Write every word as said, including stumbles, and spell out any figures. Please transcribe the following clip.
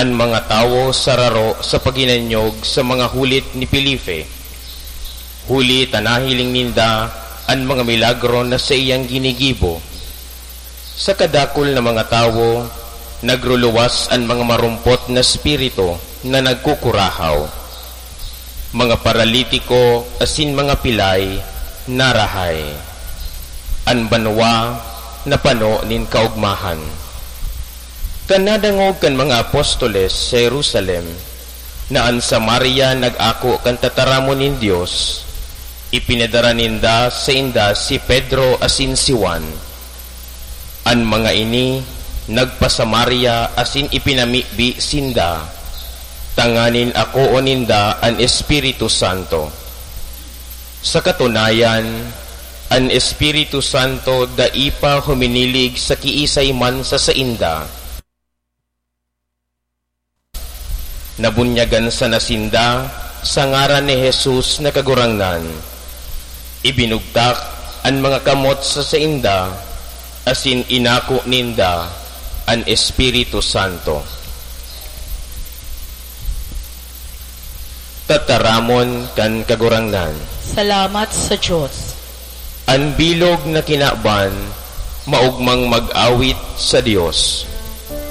an mga tawo sararo sa paghinanyog sa mga hulit ni Felipe, huli ta nahiling ninda an mga milagro na saiyang ginigibo. Sa kadakul na mga tawo, nagruluwas an mga marumpot na espiritu na nagkukurahaw. Mga paralitiko asin mga pilay narahay. An banwa napano nin kaogmahan. Kan nadangog kan mga apostoles sa Jerusalem na an Samaria nag-ako kan tataramon nin Dios, ipinadara ninda sainda si Pedro asin si Juan. An mga ini nagpa-Samaria asin ipinamibi sinda, tanganing akoon ninda an Espiritu Santo. Sa katunayan, an Espiritu Santo dai pa huminilig sa kiisay man sa sainda. Nabunyagan sana sinda sa ngaran ni Jesus na Kagurangnan. Ibinugtak an mga kamot sa sainda, asin inako ninda an Espiritu Santo. Tataramon kan Kagurangnan. Salamat sa Dios. An bilog na kinaban, maogmang mag-awit sa Dios.